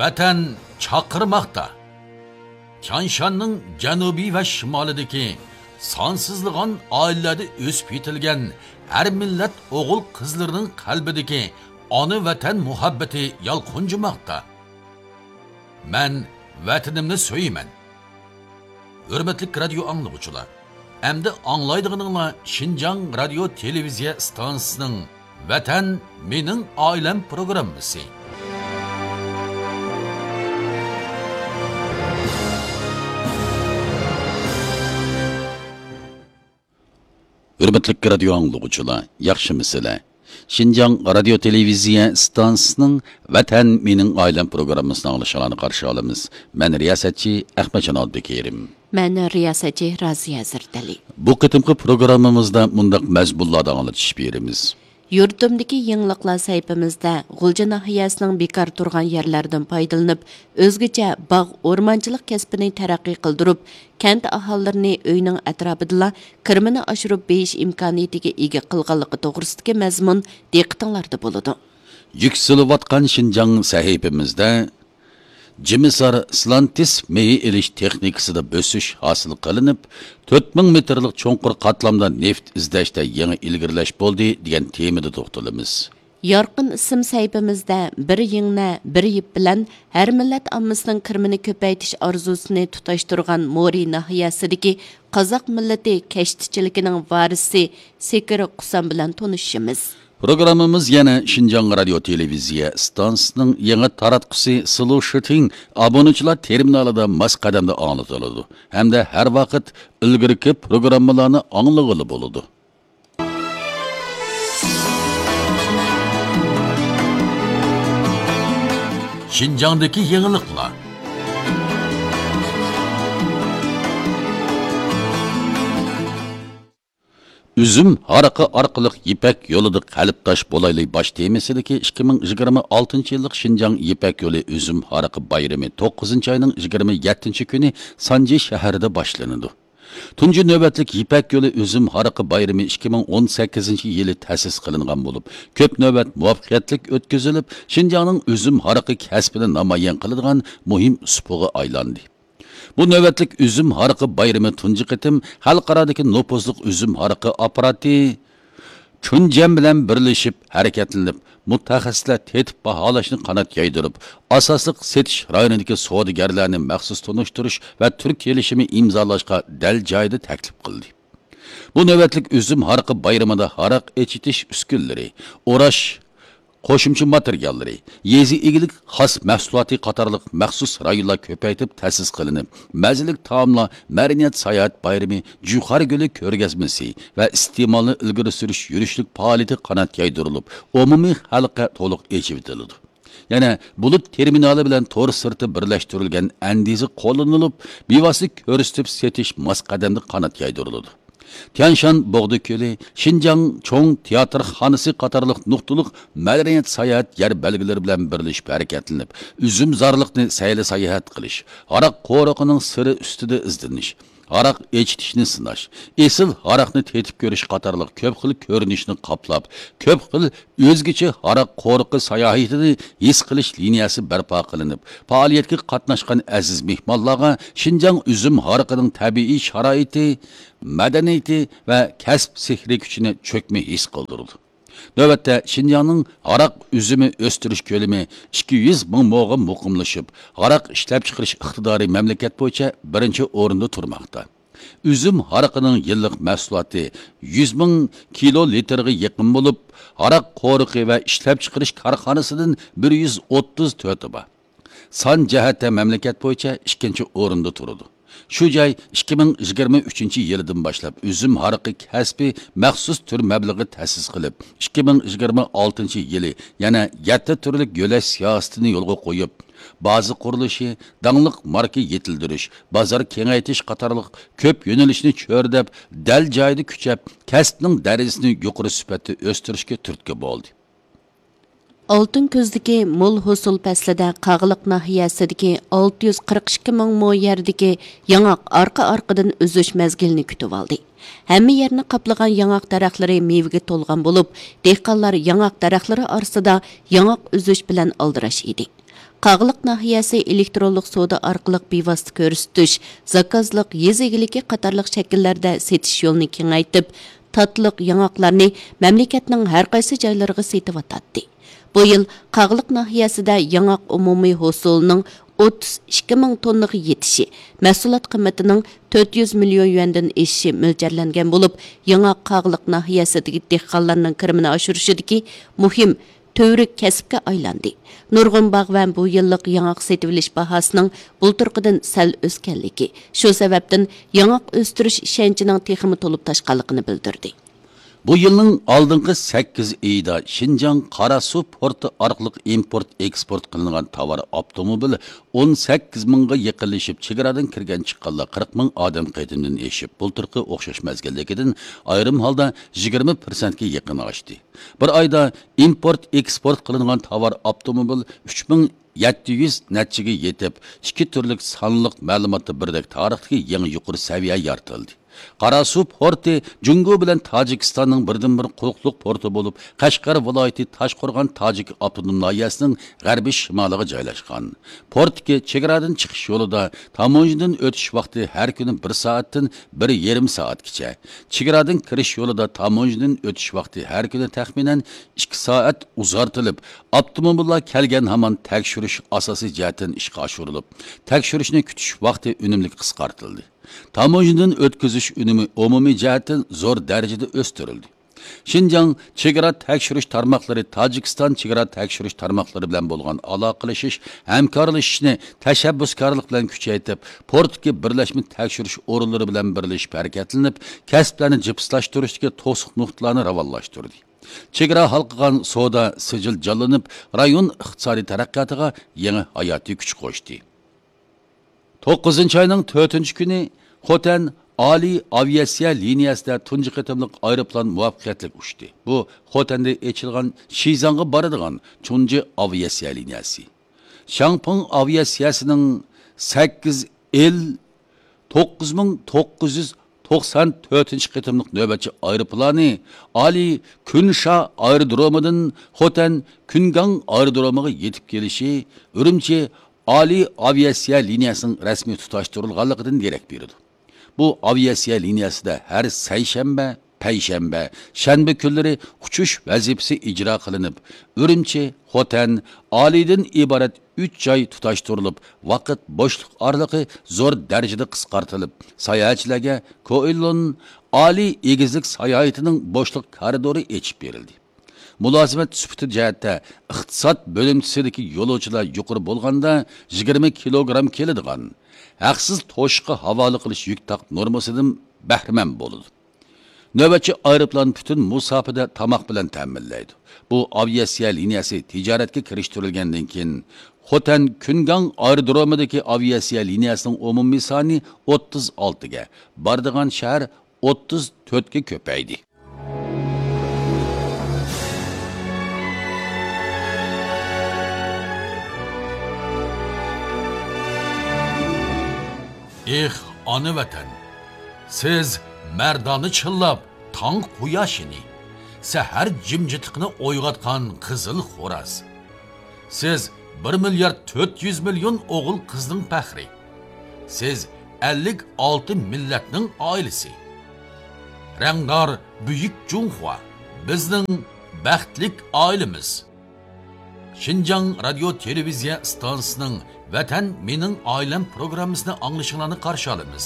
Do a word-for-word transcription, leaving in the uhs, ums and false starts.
ۋەتەن چاقىرماقتا. تيانشاننىڭ جەنۇبى ۋە شىمالىدىكى سانسىزلىغان ئائىلىلەردە ئۆسۈپ يېتىلگەن ھەر مىللەت ئوغۇل-قىزلىرىنىڭ قەلبىدىكى ئانا ۋەتەن مۇھەببىتى يالقۇنجىماقتا. مەن ۋەتىنىمنى سۆيىمەن. ھۆرمەتلىك رادىيو ئاڭلىغۇچىلار، ئەمدى ئاڭلايدىغىنىڭلار شىنجاڭ رادىيو تېلېۋىزىيە ئىستانسىسىنىڭ ۋەتەن مېنىڭ ئائىلەم پروگراممىسى. ھۆرمەتلىك رادىيو ئاڭلىغۇچىلار، ياخشىمۇسىلەر؟ شىنجاڭ رادىيو تېلېۋىزىيە ئىستانسىسىنىڭ ۋەتەن مېنىڭ ئائىلەم پروگراممىسىنى ئاڭلىشىڭلارنى قارشى ئالىمىز. مەن رىياسەتچى ئەخمەتجان ئابدۇكېرىم. مەن رىياسەتچى رازىيە ھەزرىتەلى. بۇ قېتىمقى پروگراممىمىزدا مۇنداق مەزمۇنلاردا ئاڭلىتىش بېرىمىز. يۇرتۇمدىكى يېڭىلىقلار سەھىپىمىزدە غۇلجا ناھىيەسىنىڭ بىكار تۇرغان يەرلەردىن پايدىلىنىپ، ئۆزگىچە باغ، ئورمانچىلىق كەسپىنى تەرەققىي قىلدۇرۇپ، كەنت ئاھالىلىرىنى ئۆيىنىڭ ئەتراپىدىلا كىرىمىنى ئاشۇرۇپ بېيىش ئىمكانىيىتىگە ئىگە قىلغانلىقى توغرىسىدىكى مەزمۇن دىققىتىڭلاردا بولىدۇ. يۈكسىلىۋاتقان شىنجاڭ سەھىپىمىزدە جىمىسار سلانتىس مېيى ئېلىش تېخنىكىسىدا بۆسۈش ھاسىل قىلىنىپ، تۆت مىڭ مېتىرلىق چوڭقۇر قاتلامدا نېفىت ئىزدەشتە يېڭى ئىلگىرىلەش بولدى دېگەن تېمىدا توختىلىمىز. يارقىن ئىسىم سەھىپىمىزدە بىر يىڭنە، بىر يىپ بىلەن ھەر مىللەت ئاممىسىنىڭ كىرىمىنى كۆپەيتىش ئارزۇسىنى تۇتاشتۇرغان مورى ناھىيەسىدىكى قازاق مىللىتى كەشتىچىلىكىنىڭ ۋارىسى سېكىر قۇسام بىلەن تونۇشىمىز. پروگراممىمىز يەنە شىنجاڭ رادىيو تېلېۋىزىيە ئىستانسىسىنىڭ يېڭى تاراتقۇسى سلوشىتىڭ ئابۇنىچىلار تېرمىنالىدا ماس قەدەمدە ئاڭلىتىلىدۇ ھەمدە ھەر ۋاقىت ئىلگىرىكى پروگراممىلارنى ئاڭلىغىلى بولىدۇ. شىنجاڭدىكى يېڭىلىقلار. ئۈزۈم ھارىقى ئارقىلىق يىپەك يولىدا قەلبداش بولايلى باش تېمىسىدىكى ئىككى مىڭ يىگىرمە ئالتىنچى يىللىق شىنجاڭ يىپەك يولى ئۈزۈم ھارىقى بايرىمى توققۇزىنچى ئاينىڭ يىگىرمە يەتتىنچى كۈنى سانجى شەھىرىدە باشلىنىدۇ. تۇنجى نۆۋەتلىك يىپەك يولى ئۈزۈم ھارىقى بايرىمى ئىككى مىڭ ئون سەككىزىنچى يىلى تەسىس قىلىنغان بولۇپ، كۆپ نۆۋەت مۇۋەپپەقىيەتلىك ئۆتكۈزۈلۈپ، شىنجاڭنىڭ ئۈزۈم ھارىقى كەسپىنى نامايان قىلىدىغان مۇھىم سۇپىغا ئايلاندى. بۇ نۆۋەتلىك ئۈزۈم ھارىقى بايرىمى تۇنجى قېتىم خەلقئارادىكى نوپۇزلۇق ئۈزۈم ھارىقى ئاپپاراتى چۈنجەن بىلەن بىرلىشىپ ھەرىكەتلىنىپ، مۇتەخەسسىسلەر تېتىپ باھالاشنى قانات يايدۇرۇپ، ئاساسلىق سېتىش رايونىدىكى سودىگەرلەرنى مەخسۇس تونۇشتۇرۇش ۋە تۈر كېلىشىمى ئىمزالاشقا دەل جايىدا تەكلىپ قىلدى. بۇ نۆۋەتلىك ئۈزۈم ھارىقى بايرىمىدا ھاراق ئېچىتىش ئۈسكۈنىلىرى، ئوراش، قوشۇمچە ماتېرىياللىرى، يېزا ئىگىلىك خاس مەھسۇلاتى قاتارلىق مەخسۇس رايونلار كۆپەيتىپ تەسىس قىلىنىپ، مەززىلىك تائاملار، مەدەنىيەت ساياھەت بايرىمى، جۇخار گۈلى كۆرگەزمىسى ۋە ئىستېمالنى ئىلگىرى سۈرۈش يۈرۈشلۈك پائالىيىتى قانات يايدۇرۇلۇپ، ئومۇمىي خەلققە تولۇق ئېچىۋېتىلىدۇ. يەنە بۇلۇت تېرمىنالى بىلەن تور سىرتى بىرلەشتۈرۈلگەن ئەندىزە قوللىنىلىپ، بىۋاسىتە كۆرسىتىپ سېتىش ماس قەدەمدە قانات يايدۇرۇلىدۇ. تيانشان بوغدا كۆلى، شىنجاڭ چوڭ تىياتىرخانىسى قاتارلىق نۇقتىلىق مەدەنىيەت ساياھەت يەر بەلگىلىرى بىلەن بىرلىشىپ ھەرىكەتلىنىپ، ئۈزۈمزارلىقنى سەيلە ساياھەت قىلىش، ھاراق قورۇقىنىڭ سىرى ئۈستىدە ئىزدىنىش، ھاراق ئېچىتىشنى سىناش، ئېسىل ھاراقنى تېتىپ كۆرۈش قاتارلىق كۆپ خىل كۆرۈنۈشنى قاپلاپ، كۆپ خىل ئۆزگىچە ھاراق قورۇقى ساياھىتىنى ھېس قىلىش لىنىيەسى بەرپا قىلىنىپ، پائالىيەتكە قاتناشقان ئەزىز مېھمانلارغا شىنجاڭ ئۈزۈم ھارىقىنىڭ تەبىئىي شارائىتى، مەدەنىيىتى ۋە كەسىپ سېھرىي كۈچىنى چۆكمە ھېس قىلدۇرىدۇ. نۆۋەتتە شىنجاڭنىڭ ھاراق ئۈزۈمى ئۆستۈرۈش كۆلىمى ئىككى يۈز مىڭ موغا مۇقىملىشىپ، ھاراق ئىشلەپچىقىرىش ئىقتىدارى مەملىكەت بويىچە بىرىنچى ئورۇندا تۇرماقتا. ئۈزۈم ھارىقىنىڭ يىللىق مەھسۇلاتى يۈز مىڭ كىلو لىتىرغا يېقىن بولۇپ، ھاراق قورۇقى ۋە ئىشلەپچىقىرىش كارخانىسىدىن بىر يۈز ئوتتۇز تۆتى بار. سان جەھەتتە مەملىكەت بويىچە ئىككىنچى ئورۇندا تۇرىدۇ. شۇ جاي ئىككى مىڭ يىگىرمە ئۈچىنچى يىلىدىن باشلاپ ئۈزۈم ھارىقى كەسپى مەخسۇس تۈر مەبلىغى تەسىس قىلىپ، ئىككى مىڭ يىگىرمە ئالتىنچى يىلى يەنە يەتتە تۈرلۈك يۆلەش سىياسىتىنى يولغا قويۇپ، بازا قۇرۇلۇشى، داڭلىق ماركا يېتىلدۈرۈش، بازار كېڭەيتىش قاتارلىق كۆپ يۆنىلىشنى چۆرىدەپ، دەل جايىدا كۈچەپ، كەسىپنىڭ دەرىجىسىنى يۇقىرى سۈپەتتە ئۆستۈرۈشكە تۈرتكە بولدى. ئالتۇن كۈزدىكى مول ھوسۇل پەسلىدە قاغىلىق ناھىيەسىدىكى ئالتە يۈز قىرىق ئىككى مىڭ مو يەردىكى ياڭاق ئارقا-ئارقىدىن ئۈزۈش مەزگىلىنى كۈتۈۋالدى. ھەممە يەرنى قاپلىغان ياڭاق دەرەخلىرى مېۋىگە تولغان بولۇپ، دېھقانلار ياڭاق دەرەخلىرى ئارىسىدا ياڭاق ئۈزۈش بىلەن ئالدىراش ئىدى. قاغىلىق ناھىيەسى ئېلېكترونلۇق سودا ئارقىلىق بىۋاسىتە كۆرسىتىش، زاكازلىق، يېزا ئىگىلىكى قاتارلىق شەكىللەردە سېتىش يولىنى كېڭەيتىپ، تاتلىق ياڭاقلارنى مەملىكەتنىڭ ھەر قايسى جايلىرىغا سېتىۋاتاتتى. بۇ يىل قاغىلىق ناھىيەسىدە ياڭاق ئومۇمىي ھوسۇلىنىڭ ئوتتۇز ئىككى مىڭ توننىغا يېتىشى، مەھسۇلات قىممىتىنىڭ تۆت يۈز مىليون يۈەندىن ئېشىشى مۆلچەرلەنگەن بولۇپ، ياڭاق قاغىلىق ناھىيەسىدىكى دېھقانلارنىڭ كىرىمىنى ئاشۇرۇشىدىكى مۇھىم تۈۋرۈك كەسىپكە ئايلاندى. نۇرغۇن باغۋەن بۇ يىللىق ياڭاق سېتىۋېلىش باھاسىنىڭ بۇلتۇرقىدىن سەل ئۆسكەنلىكى، شۇ سەۋەبتىن ياڭاق ئۆستۈرۈش ئىشەنچىنىڭ تېخىمۇ تولۇپ تاشقانلىقىنى بىلدۈردى. بۇ يىلنىڭ ئالدىنقى سەككىز ئېيىدا شىنجاڭ قاراسۇ پورتى ئارقىلىق ئىمپورت ئېكسپورت قىلىنغان تاۋار ئاپتوموبىل ئون سەككىز مىڭغا يېقىنلىشىپ، چېگرادىن كىرگەن چىققانلار قىرىق مىڭ ئادەم قېتىمدىن ئېشىپ، بۇلتۇرقى ئوخشاش مەزگىلدىكىدىن ئايرىم ھالدا يىگىرمە پىرسەنتكە يېقىن ئاشتى. بىر ئايدا ئىمپورت ئېكسپورت قىلىنغان تاۋار ئاپتوموبىل ئۈچ مىڭ يەتتە يۈز نەچچىگە يېتىپ، ئىككى تۈرلۈك سانلىق مەلۇماتتا بىردەك تارىختىكى يېڭى يۇقىرى سەۋىيە يارىتىلدى. قاراسۇ پورتى جۇڭگو بىلەن تاجىكىستاننىڭ بىردىنبىر قۇلۇقلۇق پورتى بولۇپ، قەشقەر ۋىلايىتى تاشقورغان تاجىك ئاپتونوم ناھىيەسىنىڭ غەربىي شىمالىغا جايلاشقان. پورتتىكى چېگرادىن چىقىش يولىدا تاموژنىدىن ئۆتۈش ۋاقتى ھەر كۈنى بىر سائەتتىن بىر يېرىم سائەتكىچە، چېگرادىن كىرىش يولىدا تاموژنىدىن ئۆتۈش ۋاقتى ھەر كۈنى تەخمىنەن ئىككى سائەت ئۇزارتىلىپ، ئاپتوموبىللار كەلگەن ھامان تەكشۈرۈش ئاساسىي جەھەتتىن ئىشقا ئاشۇرۇلۇپ، تەكشۈرۈشنى كۈتۈش ۋاقتى ئۈنۈملۈك قىسقارتىلدى. تاموژنىدىن ئۆتكۈزۈش ئۈنۈمى ئومۇمىي جەھەتتىن زور دەرىجىدە ئۆستۈرۈلدى. شىنجاڭ چېگرا تەكشۈرۈش تارماقلىرى تاجىكىستان چېگرا تەكشۈرۈش تارماقلىرى بىلەن بولغان ئالاقىلىشىش، ھەمكارلىشىشنى تەشەببۇسكارلىق بىلەن كۈچەيتىپ، پورتتىكى بىرلەشمە تەكشۈرۈش ئورۇنلىرى بىلەن بىرلىشىپ ھەرىكەتلىنىپ، كەسىپلەرنى جىپسلاشتۇرۇشتىكى توسۇق نۇقتىلارنى راۋانلاشتۇردى. چېگرا ھالقىغان سودا سىجىل جانلىنىپ، رايون ئىقتىسادىي تەرەققىياتىغا يېڭى ھاياتىي كۈچ قوشتى. توققۇزىنچى ئاينىڭ تۆتىنچى كۈنى خوتەن ئالىي ئاۋىئاتسىيە لىنىيەسىدە تۇنجى قېتىملىق ئايروپىلان مۇۋەپپەقىيەتلىك ئۇچتى. بۇ خوتەندە ئېچىلغان شىزاڭغا بارىدىغان تۇنجى ئاۋىئاتسىيە لىنىيەسى. شياڭپىڭ ئاۋىئاتسىيەسىنىڭ سەككىز ئېل توققۇز مىڭ توققۇز يۈز توقسان تۆتىنچى قېتىملىق نۆۋەتچى ئايروپىلانى ئالىي كۈنشا ئايرودرومىدىن خوتەن كۈنگاڭ ئايرودرومىغا يېتىپ كېلىشى ئۈرۈمچى ئالىي ئاۋىئاتسىيە لىنىيەسىنىڭ رەسمىي تۇتاشتۇرۇلغانلىقىدىن دېرەك بېرىدۇ. بۇ ئاۋىئاتسىيە لىنىيەسىدە ھەر سەيشەنبە، پەيشەنبە، شەنبە كۈنلىرى ئۇچۇش ۋەزىپىسى ئىجرا قىلىنىپ، ئۈرۈمچى، خوتەن، ئالىيدىن ئىبارەت ئۈچ جاي تۇتاشتۇرۇلۇپ، ۋاقىت بوشلۇق ئارىلىقى زور دەرىجىدە قىسقارتىلىپ، ساياھەتچىلەرگە كوئېلون ئالىي ئېگىزلىك ساياھىتىنىڭ بوشلۇق كارىدورى ئېچىپ بېرىلدى. مۇلازىمەت سۈپىتى جەھەتتە ئىقتىساد بۆلۈمچىسىدىكى يولۇچىلار يۇقىرى بولغاندا يىگىرمە كىلوگرام كېلىدىغان، ھەقسىز توشۇشقا ھاۋالە قىلىش يۈك تاق نورمىسىدىن بەھرىمەن بولىدۇ. نۆۋەتچى ئايروپىلان پۈتۈن مۇساپىدە تاماق بىلەن تەمىنلەيدۇ. بۇ ئاۋىئاتسىيە لىنىيەسى تىجارەتكە كىرىشتۈرۈلگەندىن كېيىن، خوتەن كۈنگاڭ ئايرودرومىدىكى ئاۋىئاتسىيە لىنىيەسىنىڭ ئومۇمىي سانى ئوتتۇز ئالتىگە، بارىدىغان شەھەر ئوتتۇز تۆتكە كۆپەيدى. ئېھ، ئانا ۋەتەن! سىز مەردانە چىللاپ، تاڭ قۇياشىنى، سەھەر جىمجىتلىقىنى ئويغاتقان قىزىل خوراز. سىز بىر مىليارد تۆت يۈز مىليون ئوغۇل قىزنىڭ پەخرى. سىز ئەللىك ئالتە مىللەتنىڭ ئائىلىسى. رەڭدار بۈيۈك جۇڭخۇا، بىزنىڭ بەختلىك ئائىلىمىز. شىنجاڭ رادىيو تېلېۋىزىيە ئىستانسىسىنىڭ ۋەتەن مېنىڭ ئائىلەم پروگراممىسىنى ئاڭلىشىڭلارنى قارشى ئالىمىز.